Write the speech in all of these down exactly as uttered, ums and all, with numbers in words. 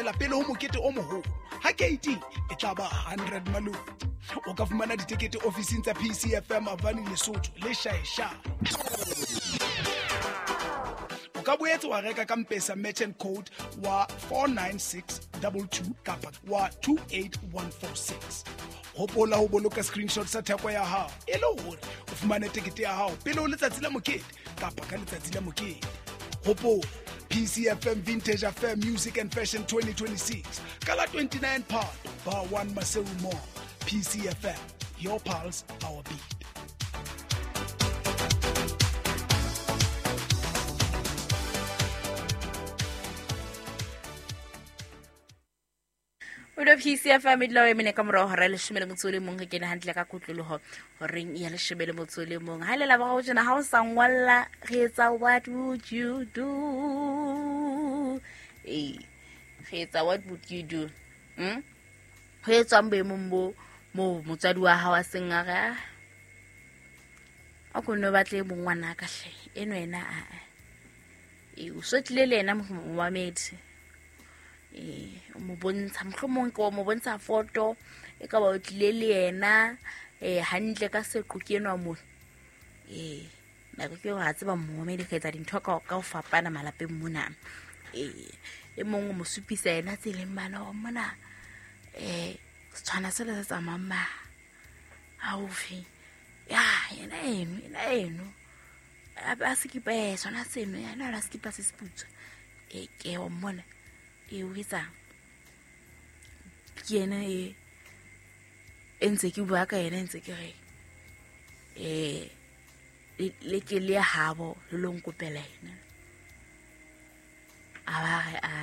feela pele ho mokete o moholo. Ha keiting e tla ba hundred malome. O ka fumana ditekete ofising tsa P C F M Avani Lesotho le Shaesha. O ka boetse wa reka ka M-Pesa merchant code wa four nine six two two kapa wa two eight one four six. Hopola ho boloka screenshot sa theko ya hao e le hore o fumane tekete ya hao pele ho letsatsi la mokete kapa ka letsatsi la mokete. Hopola P C F M Vintage Affair Music and Fashion twenty twenty-six ka la twenty-nine Phato Bar one Maseru Mall. P C F M, your pulse, our beat. O P C F M e dula o emene ka morao hora ya leshome le motso o le mong, re kene hantle ka kotloloho horeng ya leshome le motso o le mong. Ha le la boraro tjena ha o sa ngwalla re etsa what would you do? Eh, re etsa what would you do? Hmm? Ho etswang boemong bo moo motswadi wa hao a seng a re, ah, a ko nno batle e mong ngwana ka hle, eno ena a a. Eh, o so tlile le yena momamedi. Eh, o mo bontsha, mohlomong ke o mo bontsha foto e ka ba o tlile le yena, eh, hantle ka seqo ke enwa mona. Eh, nako ke hore ha tseba momamedi re etsa dintho ka, ka ho fapana malapeng mona. Eh, e mong o mo supisa yena tseleng mane hore mona, eh, setshwana sele se tsamayang ma haufi. Ya, yena eno, yena eno. A, a sekipa, eh, sona seno, yena a sekipa se seputswa. Eh, ke wa mmona. E o etsang? Ke yena e, e ntse ke bua ka yena, ntse ke re, eh, le, le ke le habo, le lo nkopela yena. A ba re, a,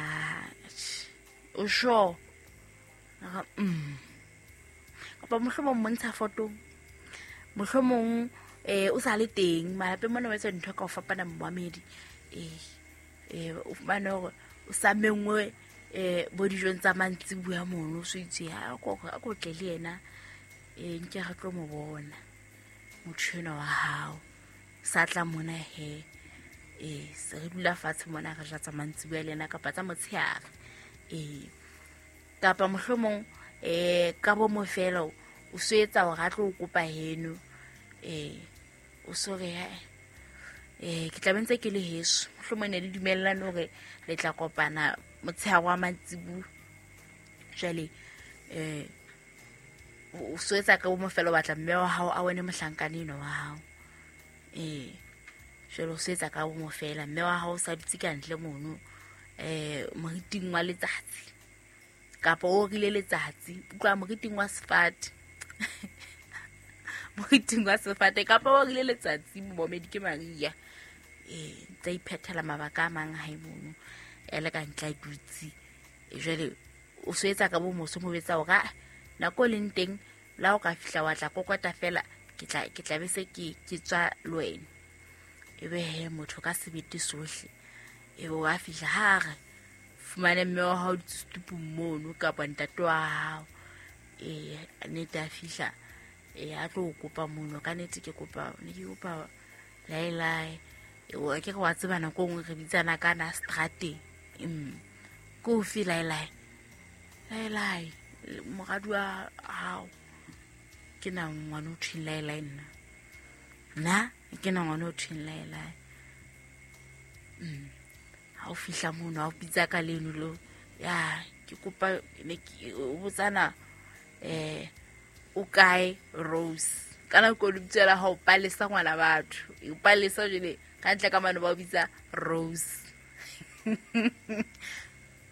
o sure? A re, mm. Kapa mohlomong montsha foto, mohlomong, eh, o sa le teng, malapeng mona o etsa dintho ka ho fapana momamedi. Eh, eh, o fumane hore o sa mengwe, eh, bo dijong tsa mantsibuya mono, o so itse, ha, a ko, a ko tle le yena, eh, nke re tlo mo bona motho enwa wa hao. Sa tla mona he, eh, se re dula fatshe mona re ja tsa mantsibuya le yena kapa tsa motshehare. Eh, kapa mohlomong, eh, ka bo mo fela o so etsa hore a tlo o kopa heno, eh, o so re, ha, eh, ke tla be ntse ke le heso, mohlomong ne le dumellane hore le tla kopana motshehare wa mantsibuya. Jwale, eh, o so etsa ka bo mo fela o batla mme wa hao a wene mohlankana enwa wa hao. Eh, jwale o so etsa ka bo mo fela, mme wa hao o sa dutse ka ntle mono, eh, moriting wa letsatsi kapa o rile letsatsi, utlwa moriting wa sefate. Moriting wa sefate kapa o rile letsatsi, momedi ke Maria. Eh, ntse a iphethela mabaka a mang hae mono, e le ka ntle a dutse. E jwale o so etsa ka bo moso mo betsa hore, ah, nako e leng teng la o ka fihla wa tla kokota fela, ke tla, ke tla be se ke, ke tswa le wena. Ebe he motho ka sebete sohle, ebe wa fihla ha re fumane mme wa hao dutse setupung mono kapa ntate wa hao. Eh, nnete a fihla, eh, a tlo o kopa mono. Ka nnete ke kopa, ne ke kopa laelae. Eh, wa ke re wa tseba nako e nngwe re bitsana ka na strateng. Mm. Ke ofe laelae? Laelae, moradi wa hao. Ke na ngwana o thweng laelae nna. Nna ke na ngwana o thweng laelae. Mm. Ha o fihla mono, ha o bitsa ka leno lo, ya, ke kopa, ne ke, o botsana, eh, o kae Rose? Ka nako e lebitso la hao Palesa ngwana batho. O Palesa jwale, ka ntle ka mane ba o bitsa Rose.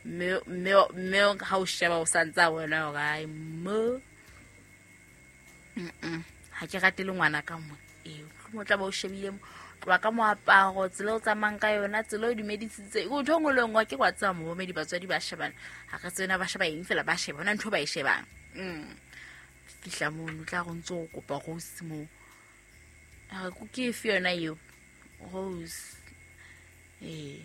Mme, mme, mme ha o sheba o sa ntse a bona hore, ai, mo. Mm-mm. Ha ke rate le ngwana ka mona. Eh, mohlomong o tla ba o shebile mo. Tloha ka moaparo, tsela o tsamayang ka yona, tsela o dumedisitse. O ntho e nngwe le e nngwe, ke wa tseba momamedi, batswadi ba shebana. Ha re tsena ba sheba eng fela, ba sheba hona ntho ba e shebang. Mm. Fihla mono, o tla re o ntso o kopa Rose moo. A re, ke efe yona eo? Rose. Eh.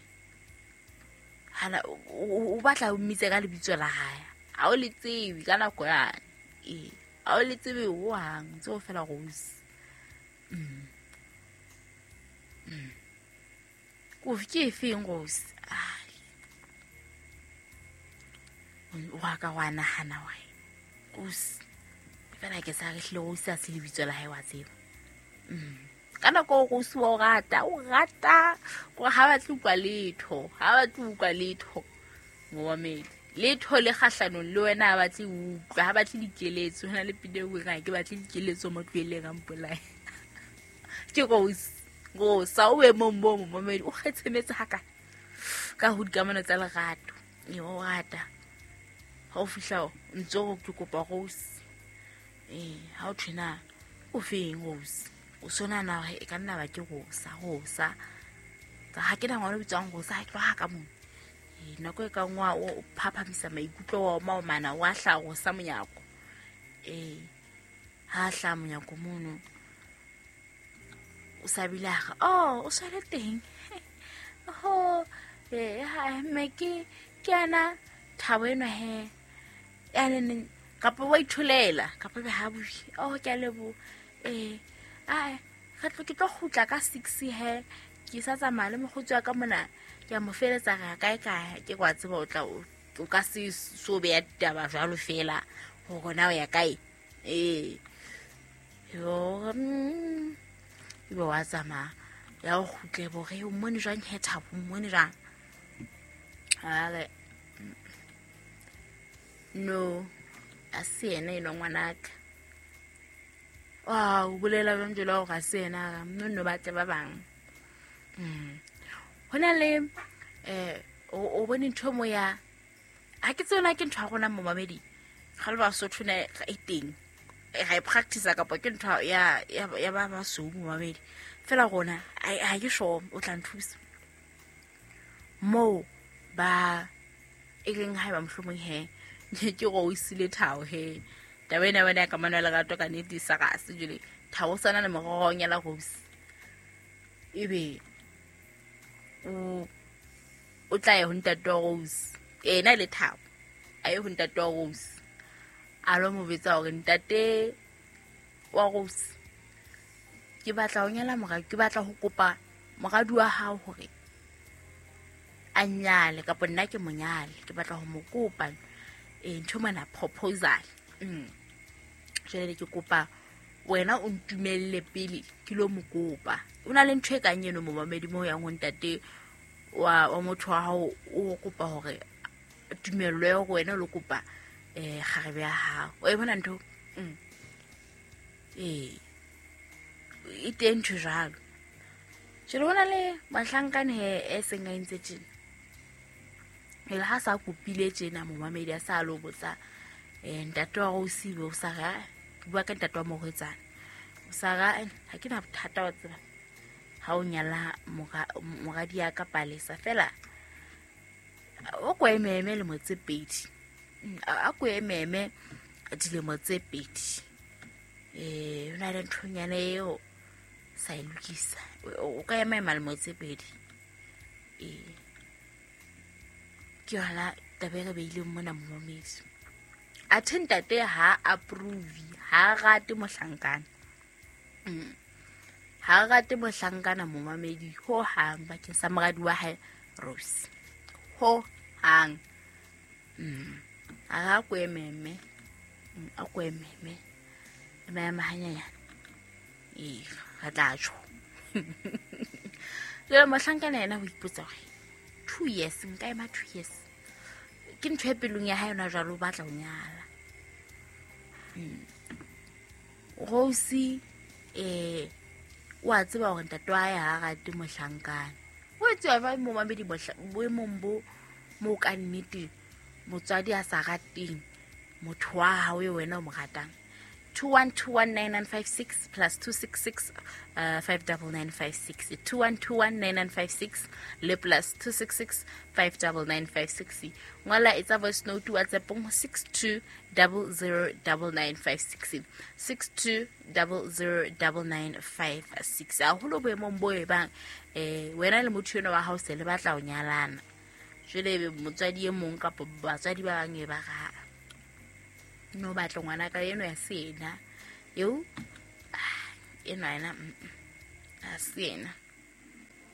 Hana, o, o, o batla o mmitse ka lebitso la hae. Ha o le tsebe ka nako yane. Eh. Ha o le tsebe hohang, ntse o fela Rose. Mm. Mm. Kofi ke efeng Rose? Ai. Wa ka wa nahana wa Rose fela ke sa re hle Rose a se lebitso la hae wa tseba. Mm. Ka nako Rose wa o rata, o rata gore ha batle utlwa letho, ha batle utlwa letho momamedi. Letho le kgahlanong le wena ha batle utlwa, ha batle dikeletso. Hona le pina e reng ke batle dikeletso mo tlohelleng a mpolaye. Ke Rose, Rose o boemong bo momamedi o kgetshemetse hakae ka ho dikamano tsa lerato. E o rata ha o fihla o ntse o ke kopa Rose. Eh, ha o thwena o feng Rose? O sona na hore e ka nna ba ke Rosa, Rosa. Tsa ha ke na ngwana o bitswang Rosa, ha ke tloha ka mona. Eh, nako e ka nngwe o phaphamisa maikutlo wa oma o mana wa hla Rosa monyako. Eh, ha hla monyako mono. O sa bile a re, oh, o swele teng. Oh, eh, ha mme ke ke ana thabo eno he. Ene kapa wa itholela, kapa be ha bui. Oh, ke a leboha. Eh, ai, re tlo ke tlo kgutla ka six he. Ke sa tsamaya le mokgotsi wa ka mona. Ke a mo feletsa re kae kae, ke kwa tseba o tla o ka se so beya ditaba jwalo fela hore na o ya kae. Eh. Yo, mm, ebe wa tsamaya ya o kgutle bo re o mmone jwang he Thabo, o mmone jwang? A re no, a se yena enwa ngwanaka. Wa o bolela jwang jwalo hore a se yena, no no batle ba bang. Mm. Hona le eh o bone ntho mo ya ha ke tsena ke ntho ya rona momamedi. Ga le ba Sotho ne e teng. Ga e practice kapa ke ntho ya ya ba ba so momamedi. Fela rona ha ke sure o tla nthusa. Mo ba e leng ha ba mohlomong he ke go isile Thabo he. Taba ena wena ka mana lerato ka nnete sa ga se jele. Thabo sana le morogong ya la Rose. Ebe o o tla ya ho ntate wa Rose. Ena le Thabo a ye ho ntate wa Rose. A lo mo betsa hore ntate wa Rose ke batla ho nyala mora, ke batla ho kopa moradi wa hao hore a nyale kapa nna ke monyale, ke batla ho mo kopa eh ntho mana proposal. Mm. Jwale ke kopa wena o ntumelle pele ke lo mo kopa. O na le ntho e kang eno momamedi mo yang ho ntate wa wa motho wa hao o kopa hore tumello ya hore wena o lo kopa eh kgarebe ya hao. O e bona ntho? Mm. Eh. E teng ntho jwalo. Jwale hona le mohlankana he e seng a entse tjena. Ele ha sa kopile tjena momamedi a sa lo botsa eh ntate wa Rose o sa ra bua ka ntate wa morwetsana. O sa ra ha ke na bothata wa tseba. Ha o nyala moradi ya ka Palesa fela o ko ememe lemo tse pedi. A ko ememe dilemo tse pedi. Eh o na le nthonyana eo sa e lokisa. O ka ema ema lemo tse pedi. Eh ke yona taba e re beileng mona momamedi. Athe ntate ha approve, ha rate mohlankana. Mm. Ha rate mohlankana momamedi ho hang bakeng sa moradi wa hae Rose. Ho hang. Mm. A ga ko ememe. A ko ememe. Ema ema hanyanya. Eh, re tla tjho. Le mohlankana yena ho ipotsa hore two years nka ema two years. Ke ntho e pelong ya hae yona jwalo o batla ho nyala. Mm. Rose eh wa tseba hore ntate wa hae ha rate mohlankana. O tseba ba momamedi boemong bo mo ka nnete motswadi a sa rateng motho wa hao e wena o mo ratang. two one two one nine nine five six plus two six six uh, five nine nine five six two one two one nine nine five six le plus two six six five nine nine five six. Ngola etsa voice note WhatsApp ho six two zero zero nine nine five six six two zero zero nine nine five six. Haholo boemong bo e bang eh wena le motho eno wa hao se le batla ho nyalana. Jwale ebe motswadi e mong kapa batswadi ba bang e ba ra no batla ngwana ka eno ya sena eo eno ena a sena.